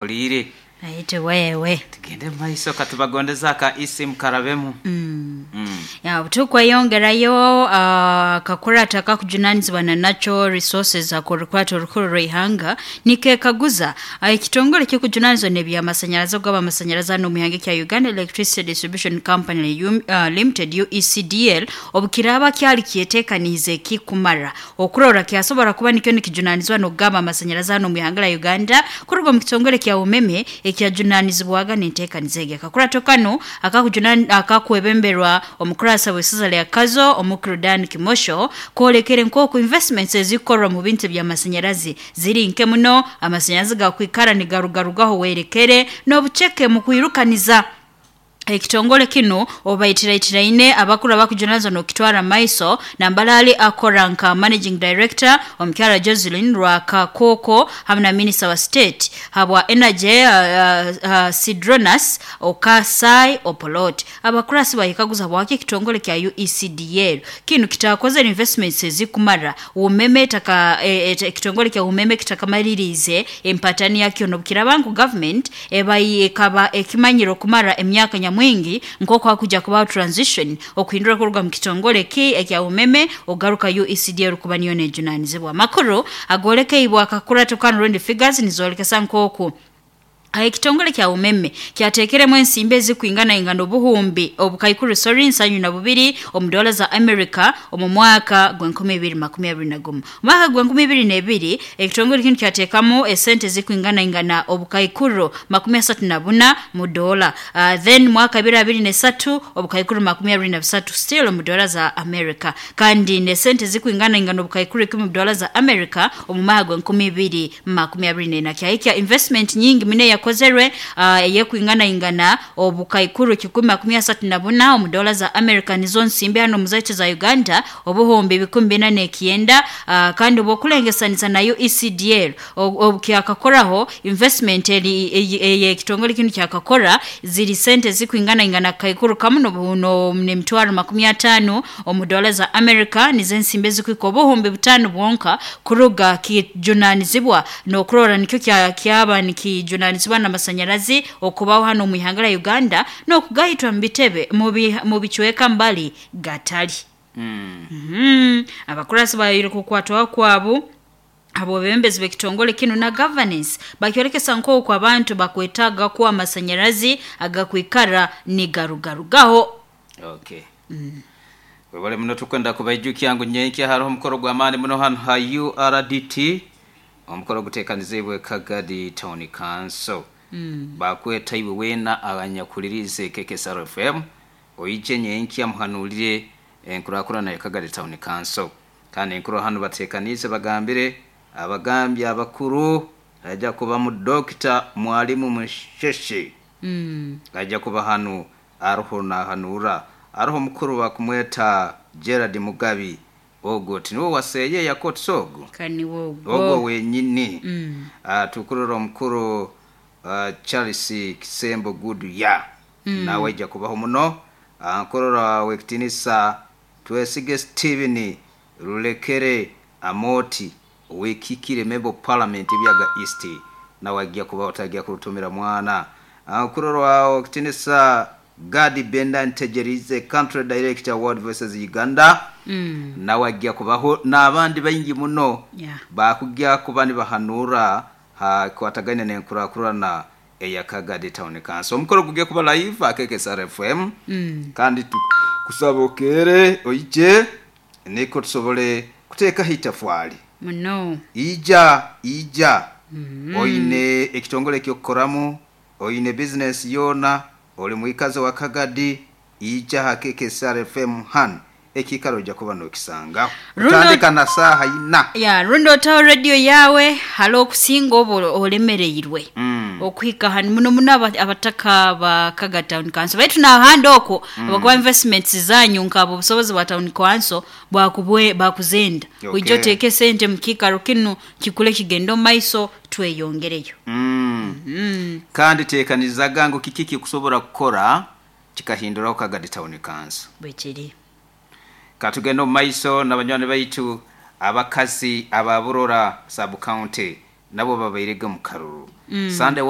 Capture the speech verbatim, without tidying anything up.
Oliire. Aite wewe. Tugende mumaiso katubagondeza aka isimu karabemu. Mm. Mm. Ya tukweyongerayo uh, akakurata akakujunanizibwa na natural resources akorukwata orukuru rw'ihanga nikekaguza uh, ekitongole kikujunanizibwa n'ebyamasanyarazi ogaba amasanyarazi hano omu ihanga kya Uganda Electricity Distribution Company U, uh, Limited U E C D L obukiraba kyali kyetekaniize kikumara okurora kyasobora kuba nikyo nikijunanizibwa n'okugaba amasanyarazi hano omu ihanga lya Uganda kuruga omu kitongole kya umeme ekyajunanizibwaga n'enteekaniza egi. Akakurato kano akakujunan akakwebemberwa omukurasa w'esiza lya Kazo omukuru Dan Kimosho kwolekere nk'oku investments ezikorwa mu bintu by'amasanyarazi ziri nke muno, amasanyarazi gakwikara nigarugarugaho werekere n'obuceke mu kwirukaniza ekitongole kino obaitiraitiraine abakuru abakujunanizwa n'okutwara maiso nambalali akora nka managing director omukyala Jocelyn Rwakakoko hamwe na minister wa state habwa energy uh, uh, Sidronas Okasai Opolot. Abakurasi bahikaguza bwaki ekitongole kya U E C D L kino kitakoze investments ezikumara umeme taka ekitongole kya umeme kitakamalirize empatani yakyo nobukirabangu government ebayi ekaba ekimanyiro kumara emyaka mwingi nkoko hakuja kuba transition okuhindura kuruga mu kitongole ki ekya umeme ogaruka U E C D L kuba niyo nejunanizibwa. Makuru agoleke ibwa akakura tukano round figures nizolekesa nkoko ekitongole kya umeme kyatekeremu ensimbi ezikuingana ingano obuhumbi obukaikuru sorry nsanyu na bubiri omu dola za America omu mwaka gw'enkumi ibiri makumi abiri na gumu. Mwaka gw'enkumi ibiri n'ebiri ekitongole kino kyateekamu esente ezikuingana ingana obukaikuru makumi asatu na buna mu dola. Uh, then mwaka bibiri abiri n'esatu obukaikuru makumi abiri na busatu still mu dola za America, kandi n'esente ezikuingana ingana obukaikuru ikumi mu dola za America omu mwaka gw'enkumi ibiri makumi abiri n'ena. Kyahikya investment nyingi mine yakozerwe uh, yekuingana ingana obukaikuru kikumi makumi asatu na buna omu dola za America nizo nsimbi hano muzaitu za Uganda obuhumbi bikumi bina n'ekyenda. uh, kandi obukulengesanisa na U E C D L obukyakakoraho investment eri ekitongole kino kyakakora ziri sente zikuingana ingana kaikuru kamu no n'emitwaro makumi atano omu dola za America nizo nsimbi zikuika obuhumbi butano bwonka kuruga kijunanizibwa n'okurora nikyo kyaba nikijunanizibwa n'amasanyarazi okubaho hano mu ihanga lya Uganda n'okugayitwa mu bitebe mu bichweka mbali gatali. Mm. Mm -hmm. Abakurasi bayire kukwatwa kwabo abo bembezi bekitongole kino na governance bakyolekesa nk'oku abantu bakwetaga kuwa amasanyarazi agakwikara nigarugarugaho. Okay. Mm. Webale muno tukwenda kubaijukya ngu nyenkya hariho omukoro gw'amaani muno hano ha U R D T omukoro guteekanizibwe Kagadi Town Council. Mm. Bakweta iwe wena abanyakulirize K K S R F M oije nyenkya muhanulire enkurakurana ya Kagadi Town Council. Kandi enkuru hano bateekanize bagambire abagambye abakuru ajja kuba mu Doctor Mwalimu Musheshe. Mm. Ajja kuba hano aruho nahanura aruho mukuru bakumweta Gerard Mugabi ogo tiniwo waseye yakotsogo kani wogo ogo wenyini. Mm. Uh, tukurora omukuru uh, Charles Kisembo Gudu ya Mm. nawe ajja kubaho muno. uh, nkorora wekitinisa Twesige Steven Rulekere Amoti wekikire member parliament byaga East nawe ajja kubaho tagiya kurutumira mwana. uh, nkorora wekitinisa Gadi Benda Ntegerize country director World Voices Uganda. Mm. Nawe ajja kubaho n'abandi baingi muno Yeah. bakujya kuba nibahanura ha kwataganya n'enkurakurana eya Kagadi Town Council. Omukoro gugiye kuba live a K K S R F M. Mm. Kandi kusaba okere oije niko tusobole kuteekaho itafwali muno ija ija. Mm. Oine ekitongole ky'okukoramu, oine business yona, oli mwikazi wa Kagadi, ija ha K K S R F M han ekikaro ojja kuba n'okisanga. Otandika na saaha ina. Ya rundo otaho radio yawe hali okusinga oba olemereirwe. Mm. Okuhika hanu muno muno abataka ba Kagadi Town Council baitu n'ahandi okwo Mm. abakuba investments zanyu nkabo obusobozi bwa town council bwakubwe bakuzenda. Okay. Ojja oteeke sente mu kiikaro kino kikule kigende omu maiso tweyongereyo. Mm. Mm. Kandi teekanizaga ngu kiki kikusobola kukora kikahinduraho Kagadi Town Council. Bwekiri. Katugenda omu maiso n'abanywani baitu abakazi ababurora sub county Nabo babairege mu karuru. Sunday.